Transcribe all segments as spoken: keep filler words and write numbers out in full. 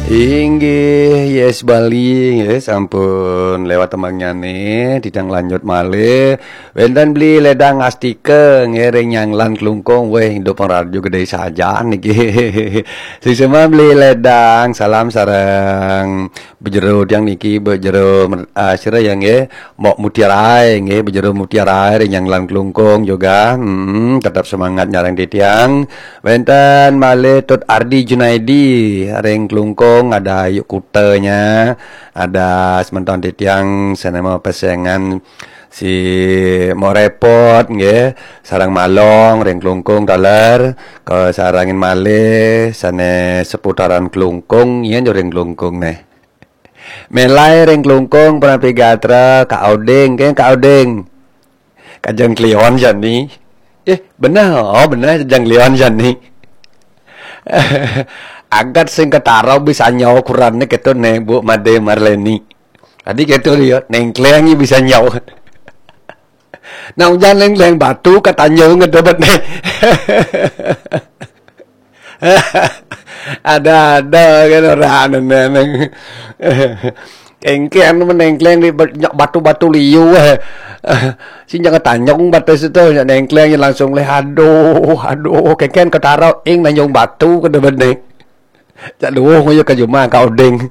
Inggih, Yes Bali, nggih, sampun lewat tembangnyane, titiang lanjut malih. Wenten Beli Ledang Astika, nggih, ring Nyanglan Klungkung, weh, idup pang radio gede saja niki. Suksma Beli Ledang, salam sareng bejero tiang niki, bejero, ah, sira ya, nggih, Mbok Mutiara, nggih, bejero Mutiara ring Nyanglan Klungkung juga. Hmm, tetap semangat nyareng titiang. Wenten malih Tut Ardi Junaidi ring Klungkung, ada Yuk Kutanya, ada semeton titiang sane mapesengan si Morepot nggih, sareng Malong ring Klungkung taler, kasarengin malih sane seputaran Klungkung yen ring Klungkung neh. Melai ring Klungkung, Prapi Gatra, Kak Oding, keng Kak Oding. Kajeng Kliwon jani. Eh, bener, oh bener Kajeng Kliwon jani. Agat sing ketara bisa nyau kurane keto ne, Bu Made Marleni. Tadi keto dia, nengkleng bisa nyau. Nah, ujan nengkleng batu katanjung keto bet ne. Ada-ada kan orang neng. Engken menengkleng di ba-, batu-batu liu, eh. Sing jangan tanjung batas itu, nyak nengkleng langsung leh, aduh, aduh, kengken ketara ing nanjung batu ke demen ne. Cak luwuh nguyu ke juma Kak Oding.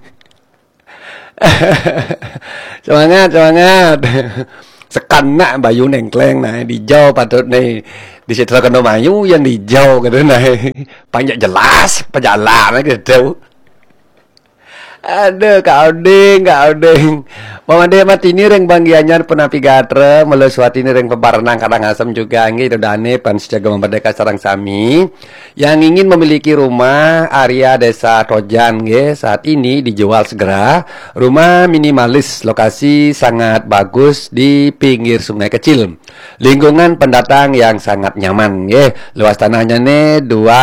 Semangat, semangat. Sekanak bayu nengkleng nah, dijau patut ne. Di Sitra Kendo Mayu yang dijau kata nah. Panjak jelas, pejalan gitu. Aduh, Kak Oding, Kak Oding. Mama Dematini ring Banggianyar Punapi Gatra, Mula Suwatini ring Pebarenang Karangasem juga nggih, Ida Dane pan sejaga merdeka sareng sami. Yang ingin memiliki rumah area Desa Tojan nggih, saat ini dijual segera. Rumah minimalis, lokasi sangat bagus di pinggir sungai kecil. Lingkungan pendatang yang sangat nyaman nggih. Luas tanahnya nih dua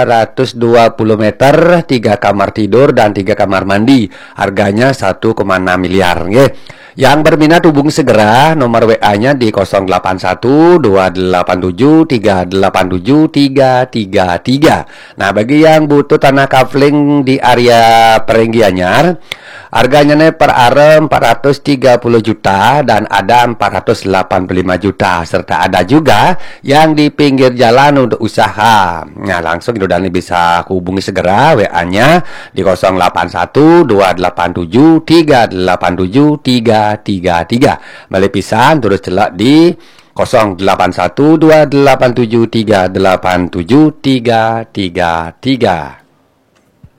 ratus dua puluh meter, tiga kamar tidur dan tiga kamar mandi. Harganya satu koma enam miliar nggih. Yang berminat hubungi segera, nomor W A-nya di kosong delapan satu dua delapan tujuh tiga delapan tujuh tiga tiga tiga. Nah, bagi yang butuh tanah kafling di area Perenggianyar, harganya nih per are empat ratus tiga puluh juta dan ada empat ratus delapan puluh lima juta, serta ada juga yang di pinggir jalan untuk usaha. Nah, langsung Ida Dane bisa hubungi segera W A-nya di kosong delapan satu dua delapan tujuh tiga delapan tujuh tiga tiga tiga. Malih pisan terus celak di kosong delapan satu dua delapan tujuh tiga delapan tujuh tiga tiga tiga.